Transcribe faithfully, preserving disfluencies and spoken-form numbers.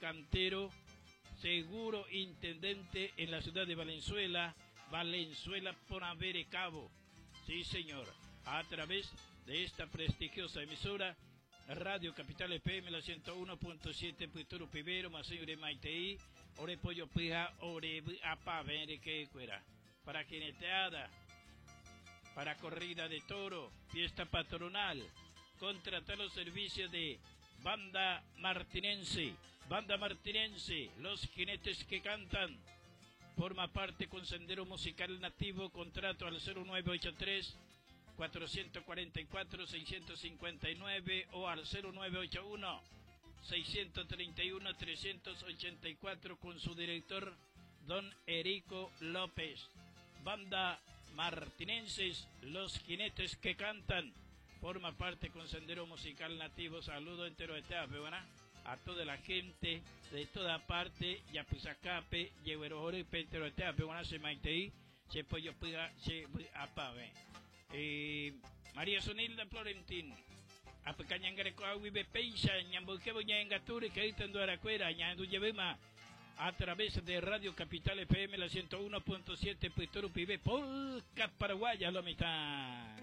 Cantero, seguro intendente en la ciudad de Valenzuela, Valenzuela por haber cabo. Sí, señor, a través de esta prestigiosa emisora, Radio Capital F M, la ciento uno punto siete Puturu Pibero, Masayure Maitei, Ore Pollo Pija, Ore Apa, que cuera. Para jineteada, para corrida de toro, fiesta patronal, contratar los servicios de Banda Martinense, Banda Martinense, los jinetes que cantan. Forma parte con Sendero Musical Nativo, contrato al cero nueve ocho tres cuatrocientos cuarenta y cuatro seiscientos cincuenta y nueve o al cero nueve ocho uno seiscientos treinta y uno trescientos ochenta y cuatro con su director don Erico López. Banda Martinenses, los jinetes que cantan. Forma parte con Sendero Musical Nativo. Saludo entero de ¿verdad? A toda la gente de toda parte, Yapusacape, Yehuerojore, entero de se maitei, se pollo piga, se apabe. Eh, María Sonilda Florentín, Apecañangareco aguibe peisa, ñambuquebo ñangature, que aracuera, ñanduyebema, a través de Radio Capital F M, la ciento uno punto siete, Pibe, Polka Paraguaya, lo mitad.